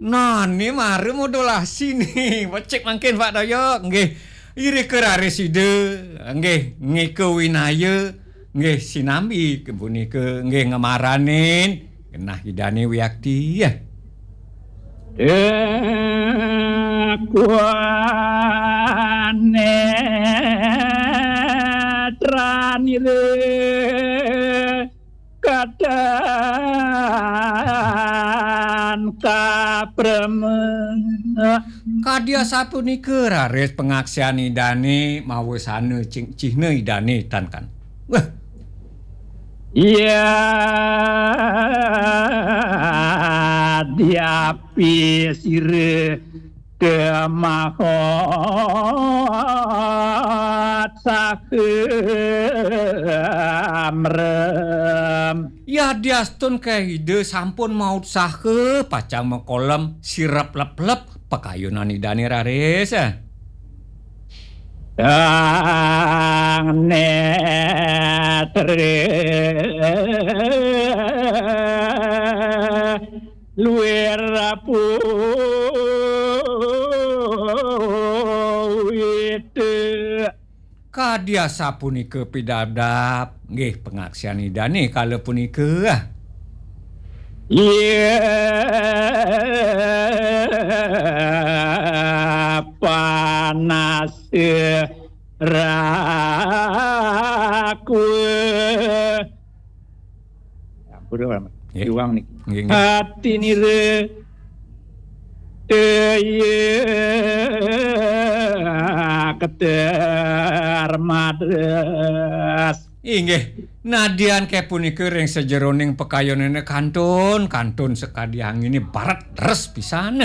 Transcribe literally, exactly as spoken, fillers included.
Nah, ni mara modulasi ni. Becik mangkin, Pak Doyok. Nggih. Irika raris Ida. Nggih, ngika winaya. Nggih, sinambi punika nggih ngamaranin genah Idane wiakti. Dakwah netranira kadang kaprema. Kadi asapunika raris pangaksian Idane mawasana cing-, cihna Idane tan kan. Wah. Ya diapi sira kemahot saha mrem. Yadiastun ke Ida sampun mautsaha pacang makolem sirep leplep pakayunan Idane raris. Sang netre luir puwita. Kadi asapunika pidabdab, nggih, pangaksian Idane kala punika. Iya panas rakwa. Ampun, Pak. Nggih. Iwang niki. Nggih, nggih. Atinira daya keter madras. Inggih, nadyan ke punika ring sajeroning pakayunane kantun, kantun sakadi angine baret deres pisan.